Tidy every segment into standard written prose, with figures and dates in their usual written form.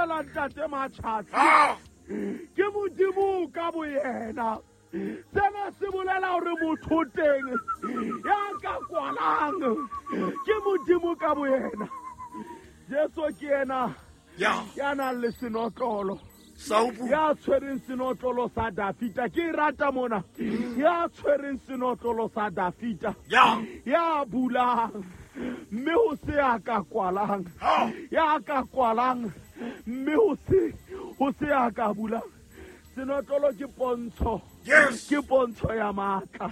bolela ntate Matjhatsi ke Modimo ka boyena. Sena se bolela hore motho o teng ya ka kwalang ke Modimo ka boyena. Jesu ke yena ya nang le senotlolo, ya tshwereng senotlolo sa Dafita. Ke e rata mona, ya tshwereng senotlolo sa Dafita, ya bulang mme ho se ya ka kwalang, ya ka kwalang mme ho se ya ka bulang. Senotlolo ke pontsho, ke pontsho ya matla.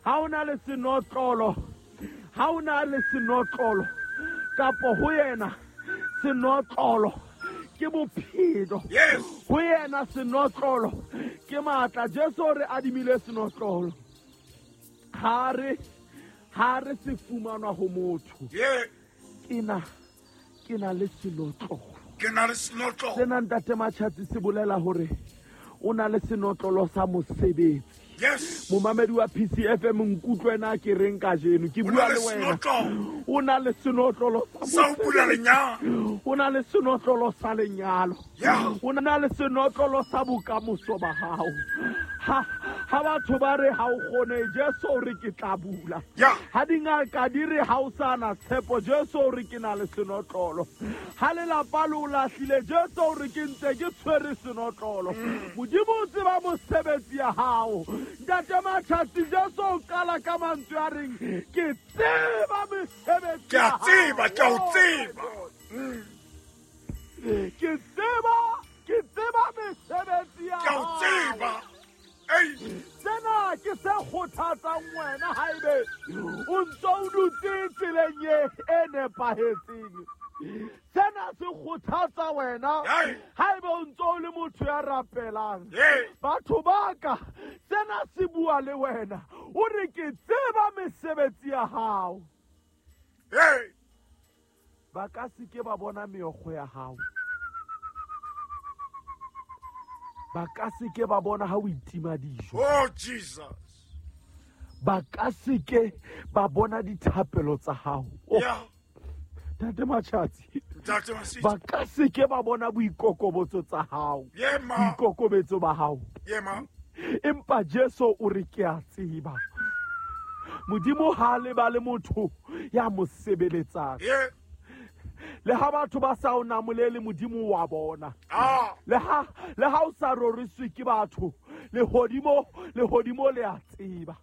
Ha o na le senotlolo, ha o na le senotlolo kapo ho yena senotlolo ke bophelo, ho yena senotlolo ke matla. Jesu re adimile senotlolo, ha re se fumanwa ho motho. Ke na le senotlolo, ke na le senotlolo. Sena ntate Matjhatsi se bolela hore o na le senotlolo sa mosebetsi. Momamedi wa PCFM, nkutlwe na ke reng kajeno, ke bua le wena. O na le senotlolo sa lenyalo, o na le senotlolo sa lenyalo, o na le senotlolo sa bokamoso ba hao. Ha batho ba re ha o kgone, Jesu o re ke tla bula. Ha dingaka di re ha o sa na tshepo, Jesu o re ke na le senotlolo. Ha lelapa le o lahlile, Jesu o re ke ntse ke tshwere senotlolo. Modimo o tseba mosebetsi ya hao. Ntate Matjhatsi, Jesu o qala ka mantswe a reng ke tseba mesebetsi ya hao. Ke a tseba, ke a o tseba. Ke tseba mesebetsi ya hao. Ke a o tseba. Sena ke se kgothatsang wena haebe o ntso o dutse tseleng e nepahetseng. Sena se kgothatsa wena haebe o ntso o le motho ya rapelang. Batho ba ka, sena se bua le wena. O re ke tseba mesebetsi ya hao. Ba ka se ke ba bona meokgo ya hao. Ba ka se ke ba bona ha o itima dijo. Oh Jesus. Ba ka se ke ba bona dithapelo tsa hao. Ntate Matjhatsi, ba ka se ke ba bona boikokobetso tsa hao, boikokobetso ba hao. Empa Jesu o re ke a tseba. Modimo ha lebale motho ya mo sebeletsang. Le ha batho ba sa o namolele, Modimo wa bona. Le ha o sa roriswe ke batho, lehodimo le a tseba.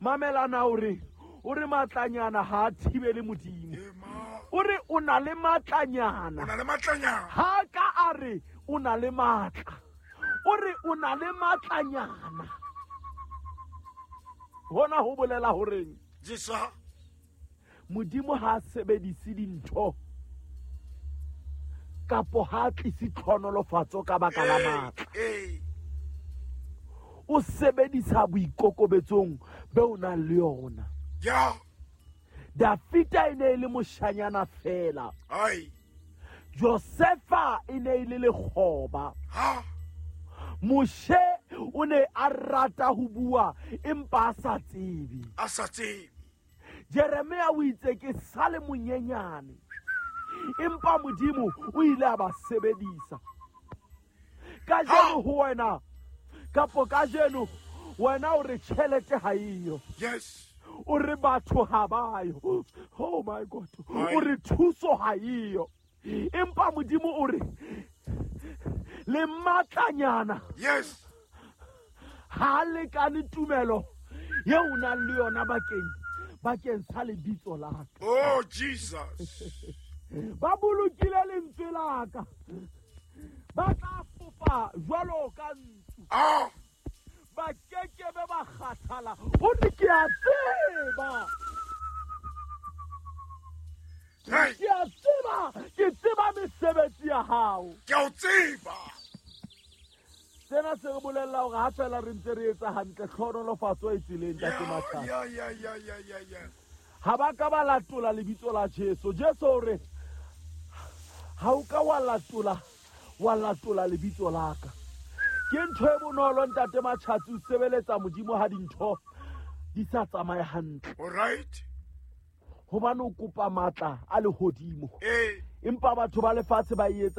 Mamelana o re matlanyana ha a thibele Modimo. O re o na le matlanyana. Ha ka a re o na le matla. O re o na le matlanyana. Hona ho bolela horeng? Modimo ha sebedise dintho kapo ha tlise tlhonolofatso ka baka la matla. O sebedisa boikokobetsong be o nang le yona. Dafita e ne e le moshanyana fela. Josefa e ne e le lekgoba. Moshe o ne a rata ho bua empa a sa tsebe. Jeremia o itse ke sale monyenyane, empa Modimo o ile a ba sebedisa. Kajeno ho wena, kapo kajeno wena o re tjhelete ha eyo. O re batho ha ba yo. Oh my God. O re thuso ha eyo. Empa Modimo o re le matlanyana. Ha lekane tumelo ye o nang le yona bakeng sa lebitso la ka. Oh Jesus. Ba bolokile lentswe la ka. Ba tla fofa jwalo ka ntsu. Ba kekebe ba kgathala. O re ke a tseba. Ke a tseba, ke tseba mesebetsi ya hao. Ke a o tseba. Sena se re bolella hore ha fela re ntse re etsa hantle, tlhonolofatso e tseleng, Ntate Matjhatsi. Ha ba ka ba latola lebitso la Jesu. Jesu o re ha o ka wa latola lebitso la ka. Ke ntho e bonolo Ntate Matjhatsi o sebeletsa Modimo ha dintho di sa tsamaye hantle. All right. Hobane o kopa matla a lehodimo. Empa batho ba lefatshe ba etsa